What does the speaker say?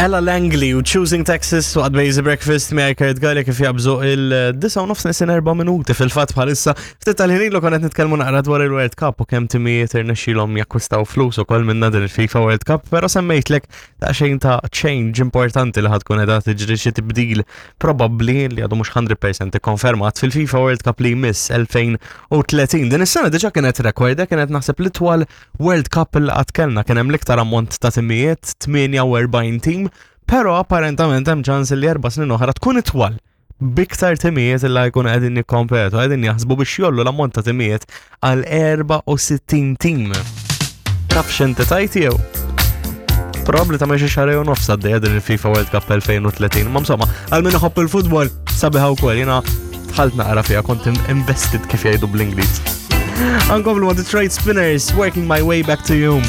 Ella Langley u Choosing Texas waqt Basic Breakfast miegħi Kurt Galli kif jabżu il-9 u nofs nesin 4 minuti fil-fatt bħalissa. Ftit tal-ħin ilu konet nitkellmu naqra dwar il-World Cup u kemm timijiet irnexxilhom jakkwistaw flus ukoll minna din il-FIFA World Cup, però semmejtlek daqsxejn ta' change importanti li ħadkun qiegħda tiġri xi tibdil probabbli li għadu mhux 100% ikkonfermat fil-FIFA World Cup li jmiss 2030. Din is-sena diġà kienet rekord, kienet naħseb l-itwal World Cup li qatt kellna kien hemm l-iktar ammont ta' timijiet, 48 tim, però apparentament hemm ċans li 4 snin oħra tkun itwal biktar timijiet li jkun qegħdin jikkompetu, qegħdin jaħsbu biex jollu l-ammont ta' timijiet għal 64 tim. Taf x'inti tajt jew? Probabli ta' xi xahar u nofs għaddejja din il-FIFA World Cup 2030. Ma insomma, għal min iħobb il-futbol sabiħa wkoll jiena dħalt naqra fiha kont invested kif jgħidu bl-Ingliż. Ankomplu ma' Detroit Spinners, Working My Way Back to You.